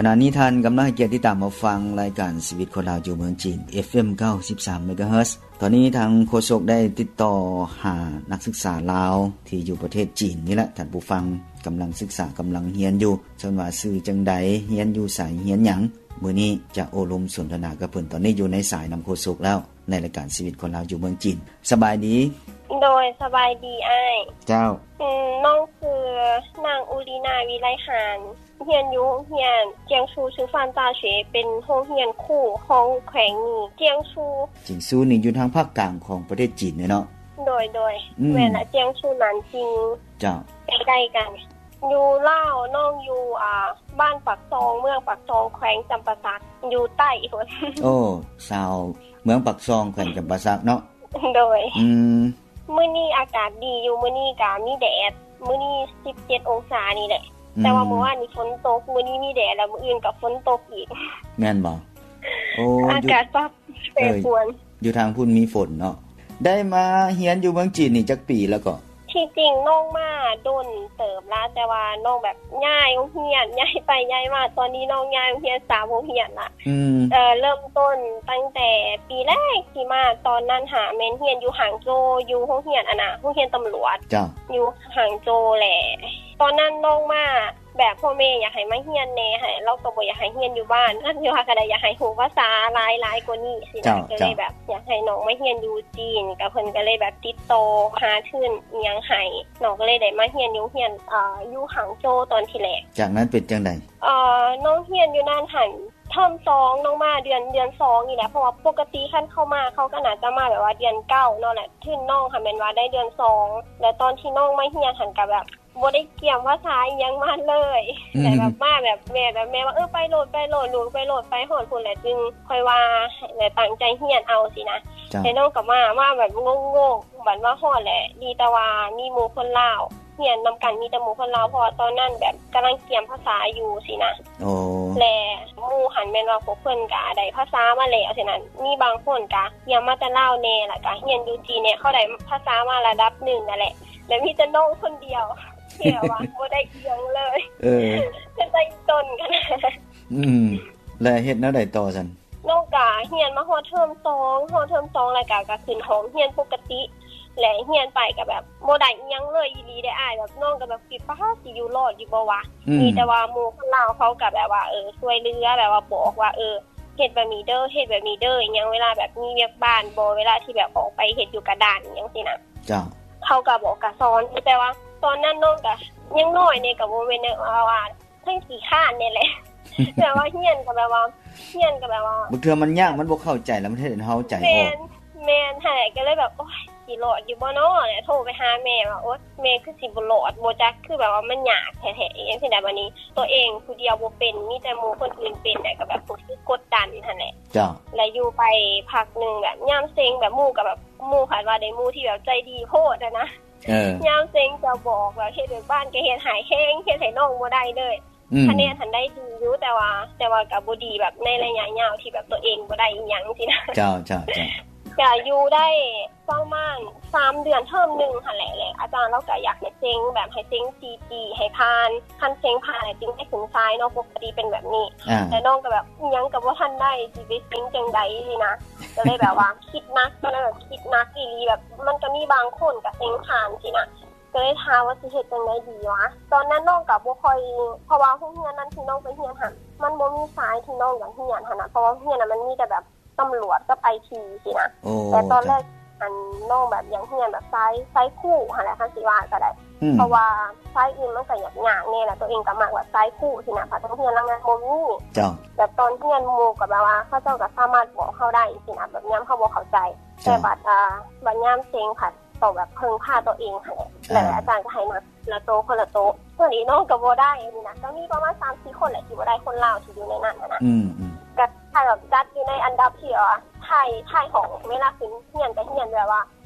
ຂະນະນີ້ທ່ານກຳລັງໃຫ້ກຽດຕິດຕາມຮັບຟັງລາຍການຊີວິດຄົນລາວຢູ່ເມືອງຈີນ ເອັຟເອັມ ເກົ້າສິບສາມ ເມກາເຮີດ. ຕອນນີ້ທາງໂຄສົກໄດ້ຕິດຕໍ່ຫານັກສຶກສາລາວທີ່ຢູ່ປະເທດຈີນນີ້ແຫຼະ ທ່ານຜູ້ຟັງ, ກຳລັງສຶກສາ ກຳລັງຮຽນຢູ່, ເຊິ່ງວ່າຊື່ຈັ່ງໃດ, ຮຽນຢູ່ໃສ, ຮຽນຫຍັງ. ມື້ນີ້ຈະໂອ້ລົມສົນທະນາກັບເພິ່ນ. ຕອນນີ້ຢູ່ໃນສາຍນຳໂຄສົກແລ້ວ ໃນລາຍການຊີວິດຄົນລາວຢູ່ເມືອງຈີນ. ສະບາຍດີ. ໂດຍ ສະບາຍດີອ້າຍ. ເຈົ້າ. ອືມ ນ້ອງຊື່ນາງ ອຸລີນາ ວິໄລຫານ, ຮຽນຢູ່ໂຮງຮຽນຈຽງຊູ ຊື່ຟານຕາເຊ ເປັນໂຮງຮຽນຄູ່ຂອງແຂວງນີ້ ຈຽງຊູ. ຈຽງຊູນີ້ຢູ່ທາງພາກກາງຂອງປະເທດຈີນເນາະ? ໂດຍ ໂດຍ. ອືມ ແມ່ນລະ ຈຽງຊູ ນານຈິງ. ເຈົ້າ. ໃກ້ໆກັນ. ຢູ່ລາວ ນ້ອງຢູ່ ອ່າ ບ້ານປາກຊ່ອງ ເມືອງປາກຊ່ອງ ແຂວງຈຳປາສັກ ຢູ່ໃຕ້ພຸ້ນ. ໂອ້ ຊາວເມືອງປາກຊ່ອງ ແຂວງຈຳປາສັກເນາະ? ໂດຍ. ອືມ ມື້ນີ້ອາກາດດີຢູ່, ມື້ນີ້ກະມີແດດ, ມື້ນີ້ສິບເຈັດອົງສານີ້ແຫຼະ. ອືມ ແຕ່ວ່າມື້ວານນີ້ຝົນຕົກ, ມື້ນີ້ມີແດດ ແລ້ວມື້ອື່ນກະຝົນຕົກອີກ. ແມ່ນບໍ່? ໂອ້ ອາກາດປັບແປປວນ. ເອີ ຢູ່ທາງພຸ້ນມີຝົນເນາະ. ໄດ້ມາຮຽນຢູ່ເມືອງຈີນນີ້ຈັກປີແລ້ວເກາະ? ທີ່ຈິງນ້ອງມາດົນເຕີບລະ ແຕ່ວ່ານ້ອງແບບຍ້າຍໂຮງຮຽນ, ຍ້າຍໄປຍ້າຍມາ, ຕອນນີ້ນ້ອງຍ້າຍໂຮງຮຽນສາມໂຮງຮຽນລະ. ອືມ ເອີ ເລີ່ມຕົ້ນຕັ້ງແຕ່ປີແລກທີ່ມາ, ຕອນນັ້ນຫາແມ່ນຮຽນຢູ່ຫາງໂຈວ, ຢູ່ໂຮງຮຽນ ອັນນ່າ ໂຮງຮຽນຕຳຫຼວດ. ເຈົ້າ. ຢູ່ຫາງໂຈວແຫຼະ. ຕອນນັ້ນນ້ອງມາ ແບບພໍ່ແມ່ຢາກໃຫ້ມາຮຽນແດ່ ໃຫ້ເຮົາກໍບໍ່ຢາກໃຫ້ຮຽນຢູ່ບ້ານ, ຄັນຊິວ່າກໍໄດ້ຢາກໃຫ້ຮູ້ພາສາຫຼາຍໆກວ່ານີ້ຊີ້ນະ. ເຈົ້າ ກໍເລີຍແບບຢາກໃຫ້ນ້ອງມາຮຽນຢູ່ຈີນ, ກໍເພິ່ນກໍເລີຍແບບຕິດຕໍ່ຫາທຶນອີ່ຫຍັງໃຫ້, ນ້ອງກໍເລີຍໄດ້ມາຮຽນຢູ່ໂຮງຮຽນ ເອີ ຢູ່ຫາງໂຈວຕອນທີແລກ. ຈາກນັ້ນເປັນຈັ່ງໃດ? ເອີ ນ້ອງຮຽນຢູ່ນັ້ນຫັ້ນ ເທີມສອງ ນ້ອງມາເດືອນ ເດືອນສອງນີ້ແຫຼະ, ເພາະວ່າປົກກະຕິຄັນເຂົ້າມາ ເຂົາກໍໜ້າຈະມາແບບວ່າເດືອນເກົ້າເນາະ, ແລະທຶນນ້ອງຫັ້ນແມ່ນວ່າໄດ້ເດືອນສອງ, ແລະຕອນທີ່ນ້ອງມາຮຽນຫັ້ນກໍແບບ ບໍ່ໄດ້ກຽມພາສາອີ່ຫຍັງມາເລີຍ. ອືມ ແຕ່ແບບມາແບບແມ່ ແບບແມ່ວ່າ ເອີ ໄປໂລດ ໄປໂລດ ລູກໄປໂລດ ໄປຮອດພຸ້ນແຫຼະຈຶ່ງຄ່ອຍວ່າ ແລະຕັ້ງໃຈຮຽນເອົາຊີ້ນະ. ເຈົ້າ. ແຕ່ນ້ອງກໍມາ ມາແບບງົງໆ, ບັດມາຮອດແຫຼະ ດີແຕ່ວ່າມີໝູ່ຄົນລາວ ຮຽນນຳກັນມີແຕ່ໝູ່ຄົນລາວ, ເພາະວ່າຕອນນັ້ນແບບກຳລັງກຽມພາສາຢູ່ຊີ້ນະ. ໂອ້. ແລະໝູ່ຫັ້ນແມ່ນວ່າພວກເພິ່ນກະໄດ້ພາສາມາແລ້ວຊີ້ນະ, ມີບາງຄົນກະກຽມມາແຕ່ລາວແດ່ ແລ້ວກະຮຽນຢູ່ຈີນແດ່, ເຂົາໄດ້ພາສາມາລະດັບໜຶ່ງຫັ້ນແຫຼະ. ແລະມີແຕ່ນ້ອງຄົນດຽວທີ່ແບບວ່າບໍ່ໄດ້ອີ່ຫຍັງເລີຍ. ເອີ ເປັນຕາອີ່ຕົນຂະໜາດ. ອືມ ແລະເຮັດແນວໃດຕໍ່ຊັ້ນ? ນ້ອງກະຮຽນມາຮອດເທີມສອງ, ຮອດເທີມສອງແລ້ວກະ ກະຂຶ້ນຫ້ອງຮຽນປົກກະຕິ ແລະຮຽນໄປກະແບບບໍ່ໄດ້ອີ່ຫຍັງເລີຍອີ່ຫຼີເດ້ອ້າຍ, ແບບນ້ອງກະແບບຄິດວ່າຊິຢູ່ລອດຢູ່ບໍ່ວະ. ອືມ ມີແຕ່ວ່າໝູ່ຄົນລາວເຂົາກະແບບວ່າ ເອີ ຊ່ວຍເຫຼືອ, ແບບວ່າບອກວ່າ ເອີ ເຮັດແບບນີ້ເດີ ເຮັດແບບນີ້ເດີ ອີ່ຫຍັງ ເວລາແບບມີວຽກບ້ານບໍ ເວລາທີ່ແບບອອກໄປເຮັດຢູ່ກະດານອີ່ຫຍັງຊີ້ນະ. ເຈົ້າ. ເຂົາກະບອກກະສອນ, ແຕ່ວ່າຕອນນັ້ນນ້ອງກະຍັງນ້ອຍແດ່, ກະບໍ່ແມ່ນວ່າ ທັງຂີ້ຄ້ານນີ້ແຫຼະ ແບບວ່າຮຽນກໍແບບວ່າ ຮຽນກໍແບບວ່າ ບາງເທື່ອມັນຍາກ ມັນບໍ່ເຂົ້າໃຈ ແລ້ວມັນເຮັດໃຫ້ເຮົາໃຈອອກ. ແມ່ນ ແມ່ນຫັ້ນແຫຼະ ກໍເລີຍແບບ ໂອ້ຍ ຊິລອດຢູ່ບໍ່ນໍ ແລ້ວໂທໄປຫາແມ່ວ່າ ໂອ້ຍ ແມ່ຄືຊິບໍ່ລອດ ບໍ່ຈັກ ຄືແບບວ່າມັນຍາກແທ້ໆ ອີ່ຫຍັງຊີ້ນະ. ບາດນີ້ຕົວເອງຜູ້ດຽວບໍ່ເປັນ ມີແຕ່ໝູ່ຄົນອື່ນເປັນ ແລ້ວກໍແບບຮູ້ສຶກກົດດັນຫັ້ນແຫຼະ. ເຈົ້າ. ແລ້ວຢູ່ໄປພັກໜຶ່ງ ແບບຍາມເສັງ ແບບໝູ່ກໍແບບ ໝູ່ຄາດວ່າໄດ້ໝູ່ທີ່ແບບໃຈດີໂພດຫັ້ນນະ. ເອີ ຍາມເສັງຈະບອກ ແບບເຮັດວຽກບ້ານກໍເຮັດໃຫ້ແຮງ ເຮັດໃຫ້ນ້ອງບໍ່ໄດ້ເລີຍ. ອືມ ຄະແນນຫັ້ນໄດ້ດີຢູ່ ແຕ່ວ່າ ແຕ່ວ່າກໍບໍ່ດີແບບໃນໄລຍະຍາວທີ່ແບບຕົວເອງບໍ່ໄດ້ອີ່ຫຍັງຊີ້ນະ. ເຈົ້າ ເຈົ້າ ເຈົ້າ. ກໍຢູ່ໄດ້ປະມານສາມເດືອນ ເທີມໜຶ່ງຫັ້ນແຫຼະ ແລະອາຈານລາວກໍຢາກໃຫ້ເສັງ ແບບໃຫ້ເສັງສີ່ປີໃຫ້ຜ່ານ ຄັນເສັງຜ່ານແລ້ວຈຶ່ງໄດ້ຂຶ້ນສາຍເນາະ ປົກກະຕິເປັນແບບນີ້. ອ່າ ແຕ່ນ້ອງກໍແບບ ອີ່ຫຍັງກໍບໍ່ທັນໄດ້ ຊິໄປເສັງຈັ່ງໃດຊີ້ນະ. ກໍເລີຍແບບວ່າຄິດໜັກ ຕອນນັ້ນແບບຄິດໜັກອີ່ຫຼີ ແບບມັນກໍມີບາງຄົນກໍເສັງຜ່ານຊີ້ນະ. ກໍເລີຍຖາມວ່າຊິເຮັດຈັ່ງໃດດີວະ? ຕອນນັ້ນນ້ອງກໍບໍ່ຄ່ອຍ ເພາະວ່າໂຮງຮຽນນັ້ນທີ່ນ້ອງໄປຮຽນຫັ້ນ ມັນບໍ່ມີສາຍທີ່ນ້ອງຢາກຮຽນຫັ້ນນະ ເພາະວ່າໂຮງຮຽນນັ້ນມັນມີແຕ່ແບບຕຳຫຼວດກັບໄອທີຊີ້ນະ. ໂອ້ ແຕ່ຕອນແລກ ເຈົ້າ ອັນ ນ້ອງແບບຢາກຮຽນແບບສາຍ ສາຍຄູຫັ້ນແຫຼະ ຄັນຊິວ່າກໍໄດ້. ອືມ ເພາະວ່າສາຍອື່ນມັນກໍຍາກໆແດ່ ແລ້ວຕົວເອງກໍມັກແບບສາຍຄູຊີ້ນະ ພັດໂຮງຮຽນຫຼັງນັ້ນບໍ່ມີ. ເຈົ້າ. ແບບຕອນຮຽນໝູ່ກໍແບບວ່າເຂົາເຈົ້າກໍສາມາດບອກເຮົາໄດ້ຊີ້ນະ ແບບຍາມເຮົາບໍ່ເຂົ້າໃຈ. ເຈົ້າ. ແຕ່ບັດ ອ່າ ບັດຍາມເສັງພັດ ຕ້ອງແບບເພິ່ງພາຕົວເອງຫັ້ນແຫຼະ. ອ່າ ແລ້ວອາຈານກໍໃຫ້ນັບລະໂຕຄົນລະໂຕ. ເທື່ອນີ້ນ້ອງກໍບໍ່ໄດ້ນີ້ນະ ກໍມີປະມານສາມສີ່ຄົນແຫຼະທີ່ບໍ່ໄດ້ ຄົນລາວທີ່ຢູ່ໃນນັ້ນຫັ້ນນະ. ອືມໆ ກໍຖ້າແບບຈັດຢູ່ໃນອັນດັບທີ່ວ່າທ້າຍ ທ້າຍຫ້ອງ ເວລາຂຶ້ນຮຽນກໍຮຽນແບບວ່າ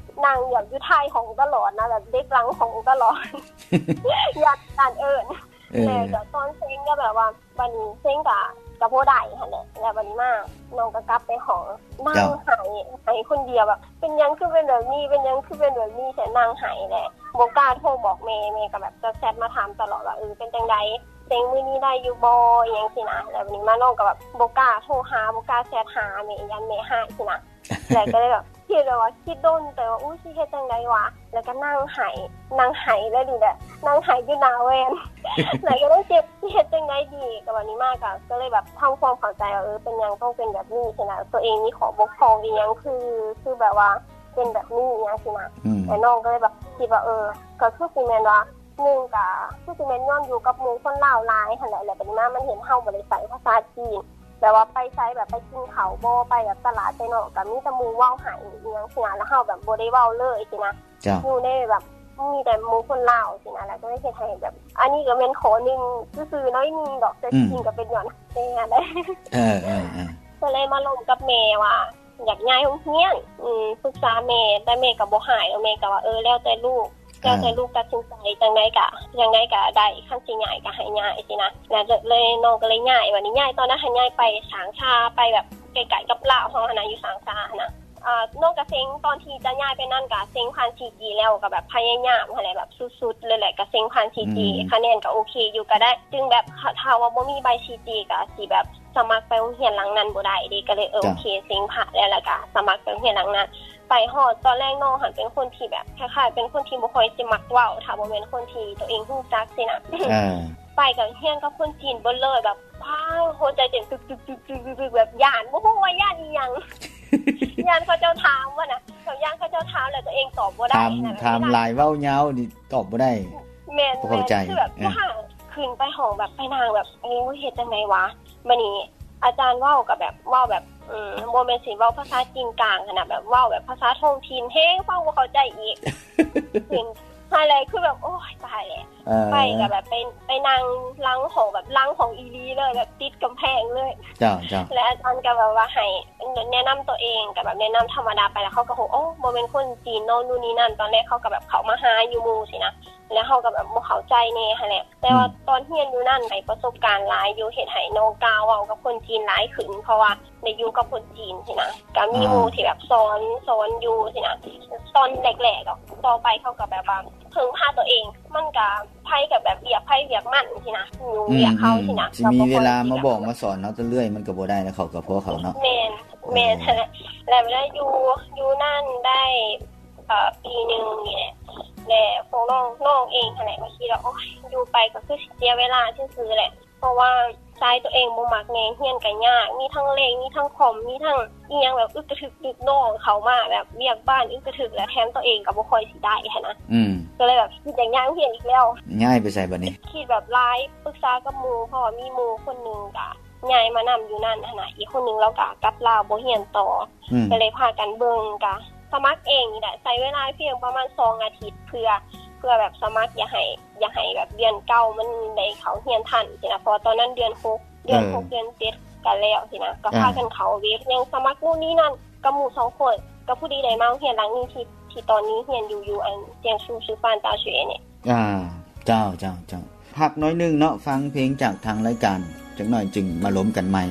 ນັ່ງແບບຢູ່ທ້າຍຫ້ອງຕະຫຼອດນະ ແບບເດັກຫຼັງຫ້ອງຕະຫຼອດ ຢ້ານ ຢ້ານເອີ້ນ. ເອີ ແລ້ວກໍຕອນເສັງກໍແບບວ່າ ບັດນີ້ເສັງກະ ກະບໍ່ໄດ້ຫັ້ນແຫຼະ. ແລ້ວບັດນີ້ມາ ນ້ອງກໍກັບໄປຫ້ອງ ນັ່ງ ເຈົ້າ ໄຫ້ ໄຫ້ຄົນດຽວ ແບບ ເປັນຫຍັງຄືເປັນແບບນີ້ ເປັນຫຍັງຄືເປັນແບບນີ້ ແຕ່ນັ່ງໄຫ້ແຫຼະ ບໍ່ກ້າໂທບອກແມ່. ແມ່ກໍແບບຈະແຊັດມາຖາມຕະຫຼອດວ່າ ເອີ ເປັນຈັ່ງໃດ ເສັງມື້ນີ້ໄດ້ຢູ່ບໍ່ ອີ່ຫຍັງຊີ້ນະ. ແລ້ວບາດນີ້ມານ້ອງກໍແບບບໍ່ກ້າໂທຫາ ບໍ່ກ້າແຊັດຫາແມ່ ຢ້ານແມ່ຮ້າຍຊີ້ນະ. ແລ້ວກໍເລີຍແບບຄິດແບບວ່າ ຄິດດົນເຕີບວ່າ ອຸ້ຍ ຊິເຮັດຈັ່ງໃດວະ. ແລ້ວກໍນັ່ງໄຫ້ ນັ່ງໄຫ້ເລີຍນີ້ແຫຼະ ນັ່ງໄຫ້ຢູ່ໜ້າແວ່ນ. ແລ້ວກໍເລີຍເຈັບ ຊິເຮັດຈັ່ງໃດດີ. ກໍບາດນີ້ມາກໍ ກໍເລີຍແບບທຳຄວາມເຂົ້າໃຈວ່າ ເອີ ເປັນຫຍັງຕ້ອງເປັນແບບນີ້ຊີ້ນະ ຕົວເອງມີຂໍ້ບົກຜ່ອງອີ່ຫຍັງ ຄື ຄືແບບວ່າເປັນແບບນີ້ ອີ່ຫຍັງຊີ້ນະ. ແລ້ວນ້ອງກໍເລີຍແບບຄິດວ່າ ເອີ ກໍຄືຊິແມ່ນວ່າ ໜຶ່ງກະຄືຊິແມ່ນຍ້ອນຢູ່ກັບໝູ່ຄົນລາວຫຼາຍຫັ້ນແຫຼະ ແລ້ວບາດນີ້ມາມັນເຫັນເຮົາບໍ່ໄດ້ໃຊ້ພາສາຈີນ ແບບວ່າໄປໃສ ແບບໄປກິນເຂົ້າບໍ່ ໄປແບບຕະຫຼາດໄປນອກ ກະມີແຕ່ໝູ່ເວົ້າໃຫ້ອີ່ຫຍັງຊີ້ນະ ແລ້ວເຮົາແບບບໍ່ໄດ້ເວົ້າເລີຍຊີ້ນະ. ຢູ່ໃນແບບມີແຕ່ໝູ່ຄົນລາວຊີ້ນະ ແລ້ວກໍເຮັດໃຫ້ແບບ ອັນນີ້ກໍແມ່ນຂໍ້ໜຶ່ງຊື່ໆ ໜ້ອຍໜຶ່ງດອກ ແຕ່ຈິງກໍເປັນຍ້ອນແມ່ຫັ້ນແຫຼະ. ກໍເລີຍມາລົມກັບແມ່ວ່າ ຢາກຍ້າຍໂຮງຮຽນ ອືມ ປຶກສາແມ່ ແຕ່ແມ່ກໍບໍ່ໃຫ້ດອກ ແມ່ກໍວ່າ ເອີ ແລ້ວແຕ່ລູກ ແລ້ວແຕ່ລູກຕັດສິນໃຈ ຈັ່ງໃດກະ ຈັ່ງໃດກະໄດ້ ຄັນຊິຍ້າຍກະໃຫ້ຍ້າຍຊີ້ນະ. ແລ້ວເລີຍ ນ້ອງກໍເລີຍຍ້າຍ ບາດນີ້ຍ້າຍຕອນນັ້ນຫັ້ນ ຍ້າຍໄປສາງຊາ ໄປແບບໃກ້ໆກັບລາວເຮົາຫັ້ນນະ ຢູ່ສາງຊາຫັ້ນນະ. ນ້ອງກະເສັງ ຕອນທີ່ຈະຍ້າຍໄປນັ້ນກະເສັງຜ່ານ ສີ່ຈີ ແລ້ວ ກະແບບພະຍາຍາມຫັ້ນແຫຼະ ແບບສຸດໆເລີຍແຫຼະ ກະເສັງຜ່ານ ສີ່ຈີ ຄະແນນກະໂອເຄຢູ່ ກະໄດ້ ຈຶ່ງແບບ ຖ້າວ່າບໍ່ມີໃບ ສີ່ຈີ ກະຊິແບບ ສະໝັກໄປໂຮງຮຽນຫຼັງນັ້ນບໍ່ໄດ້ເດ ກໍເລີຍ ເອີ ໂອເຄ ເສັງຜ່ານແລ້ວ ແລ້ວກໍສະໝັກໄປໂຮງຮຽນຫຼັງນັ້ນ. ໄປຮອດຕອນແລກ ນ້ອງຫັ້ນເປັນຄົນທີ່ແບບ ຄ້າຍໆເປັນຄົນທີ່ບໍ່ຄ່ອຍຊິມັກເວົ້າ ຖ້າບໍ່ແມ່ນຄົນທີ່ຕົວເອງຮູ້ຈັກຊີ້ນະ. ໄປກໍຮຽນກັບຄົນຈີນເບິດເລີຍ ແບບ ວ້າວ ຫົວໃຈເຕັ້ນຕຶກໆໆໆ ແບບຢ້ານ ບໍ່ຮູ້ວ່າຢ້ານອີ່ຫຍັງ ຢ້ານເຂົາເຈົ້າຖາມຫັ້ນນະ ແບບຢ້ານເຂົາເຈົ້າຖາມ ແລ້ວຕົວເອງຕອບບໍ່ໄດ້ ຖາມ ຖາມຫຼາຍເວົ້າຍາວນີ້ຕອບບໍ່ໄດ້. ແມ່ນໆ ຄືແບບ ຂຶ້ນໄປຫ້ອງແບບ ໄປນັ່ງແບບ ໂອ້ຍ ເຮັດຈັ່ງໃດວະ. ບາດນີ້ອາຈານເວົ້າກໍແບບ ເວົ້າແບບ ອືມ ບໍ່ແມ່ນຊິເວົ້າພາສາຈີນກາງຫັ້ນນະ ແບບເວົ້າແບບພາສາທ້ອງຖິ່ນ ແຮງຟັງບໍ່ເຂົ້າໃຈອີກ. ຂຶ້ນຫັ້ນແຫຼະ ຄືແບບ ໂອ້ຍ ຕາຍແລ້ວ. ໄປກໍແບບໄປ ໄປນັ່ງຫຼັງຫ້ອງ ແບບຫຼັງຫ້ອງອີ່ຫຼີເລີຍ ແບບຕິດກຳແພງເລີຍ. ແລະອາຈານກໍແບບວ່າໃຫ້ແນະນຳຕົວເອງ ກໍແບບແນະນຳທຳມະດາໄປ ແລ້ວເຂົາກໍ ໂອ້ ບໍ່ແມ່ນຄົນຈີນເນາະ ນູ່ນນີ້ນັ້ນ. ຕອນແລກເຂົາກໍແບບເຂົ້າມາຫາຢູ່ໝູ່ຊີ້ນະ ແລ້ວເຮົາກໍແບບບໍ່ເຂົ້າໃຈແດ່ຫັ້ນແຫຼະ. ແຕ່ວ່າຕອນຮຽນຢູ່ນັ້ນໄດ້ປະສົບການຫຼາຍຢູ່ ເຮັດໃຫ້ນ້ອງກ້າເວົ້າກັບຄົນຈີນຫຼາຍຂຶ້ນ ເພາະວ່າໄດ້ຢູ່ກັບຄົນຈີນຊີ້ນະ ກໍມີໝູ່ທີ່ແບບສອນ ສອນຢູ່ຊີ້ນະ ຕອນແລກໆ. ຕໍ່ໄປເຂົາກໍແບບວ່າເພິ່ງພາຕົວເອງ ມັນກໍໃຜກໍແບບວຽກໃຜວຽກມັນຊີ້ນະ ຢູ່ວຽກເຂົາຊີ້ນະ ຊິມີເວລາມາບອກມາສອນເຮົາເລື້ອຍ ມັນກໍບໍ່ໄດ້ນະ ເຂົາກໍພວກເຂົາເນາະ. ແມ່ນ ແມ່ນ ແລ້ວເວລາຢູ່ ຢູ່ນັ້ນໄດ້ ເອີ ປີໜຶ່ງນີ້ແຫຼະ ແລະພວກນ້ອງ ນ້ອງເອງຫັ້ນແຫຼະ ກໍຄິດວ່າ ໂອ້ຍ ຢູ່ໄປກໍຄືຊິເສຍເວລາຊື່ໆແຫຼະ ເພາະວ່າໃຈຕົວເອງບໍ່ມັກແນ່ ຮຽນກໍຍາກ ມີທັງເລກ ມີທັງຄອມ ມີທັງອີ່ຫຍັງແບບອຶກກະທຶກ ລຸກນ້ອງເຂົ້າມາແບບວຽກບ້ານອຶກກະທຶກ ແລະແຖມຕົວເອງກໍບໍ່ຄ່ອຍຊິໄດ້ຫັ້ນນະ. ກໍເລີຍແບບຄິດຢາກຍ້າຍໂຮງຮຽນອີກແລ້ວ. ຍ້າຍໄປໃສບາດນີ້? ຄິດແບບຫຼາຍ ປຶກສາກັບໝູ່ ເພາະວ່າມີໝູ່ຄົນໜຶ່ງກໍ ຍ້າຍມານຳຢູ່ນັ້ນຫັ້ນນະ ອີກຄົນໜຶ່ງລາວກໍກັບລາວບໍ່ຮຽນຕໍ່ ກໍເລີຍພາກັນເບິ່ງ ກໍສະໝັກເອງນີ້ແຫຼະ ໃຊ້ເວລາພຽງປະມານສອງອາທິດ ເພື່ອ ເພື່ອແບບສະໝັກ ຢາກໃຫ້ ຢາກໃຫ້ແບບເດືອນເກົ້າມັນໄດ້ເຂົ້າຮຽນທັນຊີ້ນະ ເພາະວ່າຕອນນັ້ນເດືອນຫົກ ເດືອນຫົກ ເດືອນເຈັດກໍແລ້ວຊີ້ນະ ກໍພາກັນເຂົ້າເວັບ ຍັງສະໝັກນູ່ນນີ້ນັ້ນກັບໝູ່ສອງຄົນ ກໍພໍດີໄດ້ມາໂຮງຮຽນຫຼັງນີ້ທີ່ ທີ່ຕອນນີ້ຮຽນຢູ່ ຢູ່ອັນ ຈຽງຊູ ຊື່ຟານຕາເຊເນ. ອ່າ ເຈົ້າ ເຈົ້າ ເຈົ້າ ພັກໜ້ອຍໜຶ່ງເນາະ ຟັງເພງຈາກທາງລາຍການຈັກໜ້ອຍ ຈຶ່ງມາລົມກັນໃໝ່.